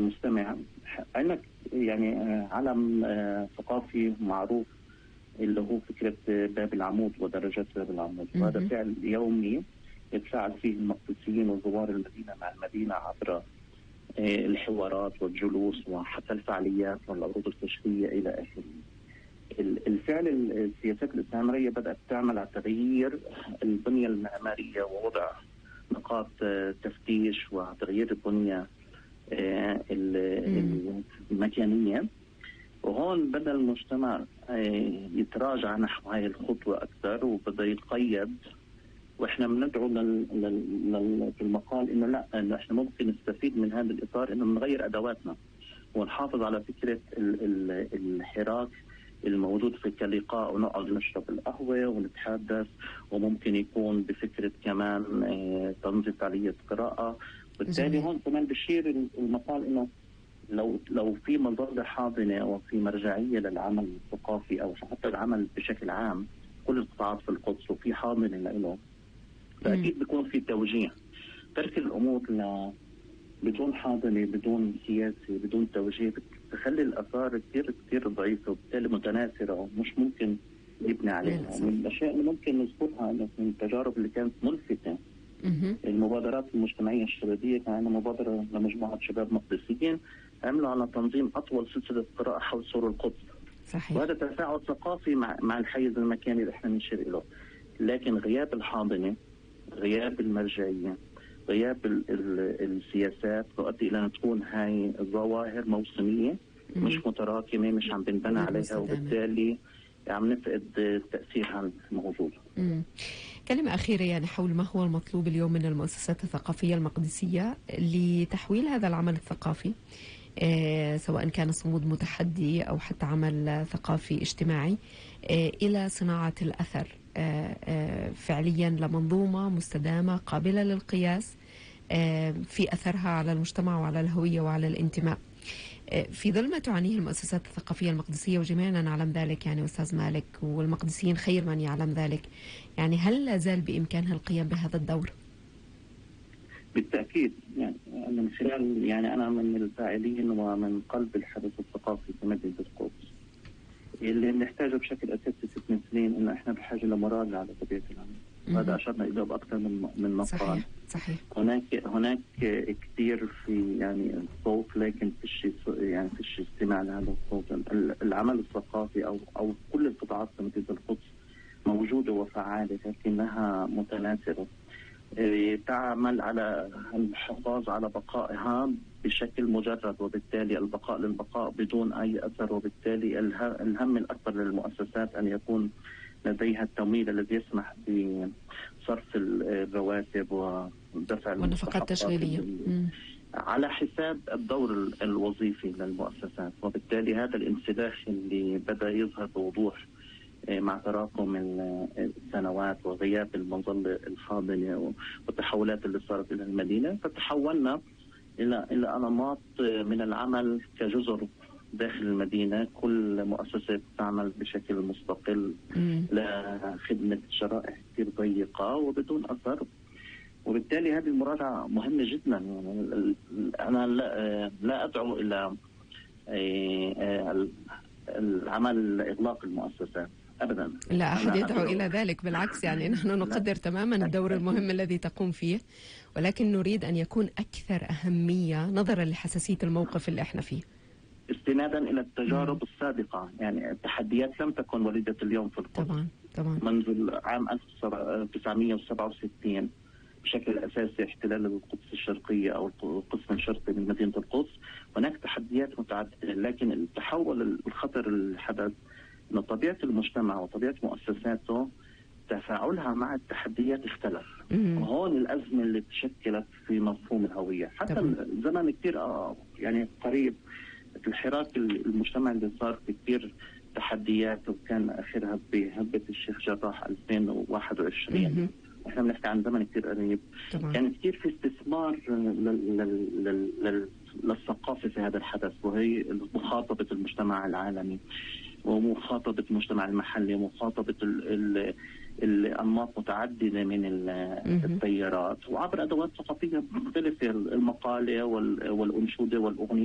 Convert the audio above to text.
المستمع، عندك يعني علم ثقافي معروف اللي هو فكرة باب العمود ودرجات باب العمود، وهذا فعل يومي يتفاعل فيه المقدسيين وزوار المدينة مع المدينة عبر الحوارات والجلوس وحتى الفعاليات والعروض الكشفية إلى آخره. الفعل السياسات الاستعمارية بدأت تعمل على تغيير البنية المعمارية ووضع نقاط تفتيش وتغيير البنية المكانية، وهون بدأ المجتمع يتراجع نحو هاي الخطوة أكثر وبدأ يتقيد. واحنا بندعو في المقال انه لا، انه احنا ممكن نستفيد من هذا الاطار، انه نغير ادواتنا ونحافظ على فكره الحراك الموجود في كلقاء، ونقعد نشرب القهوه ونتحدث، وممكن يكون بفكره كمان تنظيم فعاليه قراءه. بالتالي هون كمان بشير المقال انه لو في مظله حاضنه وفي مرجعيه للعمل الثقافي او حتى العمل بشكل عام كل القطاعات في القدس وفي حاضنه له، فأكيد بيكون في توجيه. ترك الأمور بدون حاضنة بدون سياسة بدون توجيه بتخلي الآثار كتير ضعيفة وبالتالي متناثرة ومش ممكن نبني عليها. من الأشياء اللي ممكن نذكرها من التجارب اللي كانت ملفتة المبادرات المجتمعية الشبابية، كان عندنا مبادرة لمجموعة شباب مقدسيين عملوا على تنظيم أطول سلسلة قراءة حول سور القدس. صحيح. وهذا تفاعل ثقافي مع الحيز المكاني اللي احنا بنشير له، لكن غياب الحاضنة، غياب المرجعية، غياب السياسات تؤدي إلى أن تكون هاي الظواهر موسمية مش متراكمة، مش عم بنبنى عليها، وبالتالي عم نفقد تأثيرها الموجود. كلمة أخيرة يعني حول ما هو المطلوب اليوم من المؤسسات الثقافية المقدسية لتحويل هذا العمل الثقافي، سواء كان صمود متحدي أو حتى عمل ثقافي اجتماعي، إلى صناعة الأثر فعليا لمنظومة مستدامة قابلة للقياس في أثرها على المجتمع وعلى الهوية وعلى الانتماء، في ظل ما تعانيه المؤسسات الثقافية المقدسية، وجميعنا نعلم ذلك يعني أستاذ مالك، والمقدسيين خير من يعلم ذلك. يعني هل لا زال بإمكانها القيام بهذا الدور؟ بالتأكيد، يعني من خلال يعني أنا من الفاعلين ومن قلب الحدث الثقافي في مدينة القدس، اللي بنحتاجه بشكل أساسي 6 سنين إنه إحنا بحاجة لمراجعة على طبيعة العمل. وهذا أشرنا إليه بأكثر من مقال. صحيح. هناك كثير في يعني صوت، لكن فيش استماع لهذا الصوت. العمل الثقافي أو كل القطاعات في مدينة القدس موجودة وفعالة، لكنها متناثرة، تعمل على الحفاظ على بقائها بشكل مجرد، وبالتالي البقاء للبقاء بدون أي أثر. وبالتالي الهم الأكبر للمؤسسات أن يكون لديها التمويل الذي يسمح بصرف الرواتب ودفع والنفقات التشغيلية على حساب الدور الوظيفي للمؤسسات. وبالتالي هذا الانسداح اللي بدأ يظهر بوضوح مع تراكم السنوات وغياب المظلة الحاضنة والتحولات اللي صارت إلى المدينة، فتحولنا إلى أنماط من العمل كجزر داخل المدينة. كل مؤسسة تعمل بشكل مستقل لخدمة شرائح كثير ضيقة وبدون أثر. وبالتالي هذه المراجعة مهمة جدا. يعني أنا لا أدعو إلى العمل إغلاق المؤسسات أبدا، لا أحد يدعو إلى ذلك، بالعكس يعني نحن نقدر تماما الدور المهم الذي تقوم فيه، ولكن نريد أن يكون أكثر أهمية نظرا لحساسية الموقف اللي احنا فيه، استنادا إلى التجارب السابقة. يعني التحديات لم تكن وليدة اليوم في القدس. طبعا منذ عام 1967 بشكل أساسي احتلال القدس الشرقية أو القسم الشرقي من مدينة القدس، هناك تحديات متعددة، لكن التحول الخطر الحدث أن طبيعة المجتمع وطبيعة مؤسساته تفاعلها مع التحديات اختلف. وهون الأزمة اللي تشكلت في مفهوم الهوية. حتى الزمن كتير يعني قريب الحراك المجتمع اللي صار في كتير تحديات، وكان آخرها بهبة الشيخ جراح 2021. احنا بنحكي عن زمن كتير قريب. كان كتير في استثمار للثقافة في هذا الحدث، وهي مخاطبة المجتمع العالمي ومخاطبة المجتمع المحلي ومخاطبة الأنماط متعددة من التيارات، وعبر أدوات ثقافية مختلفة، المقالة والأنشودة والأغنية.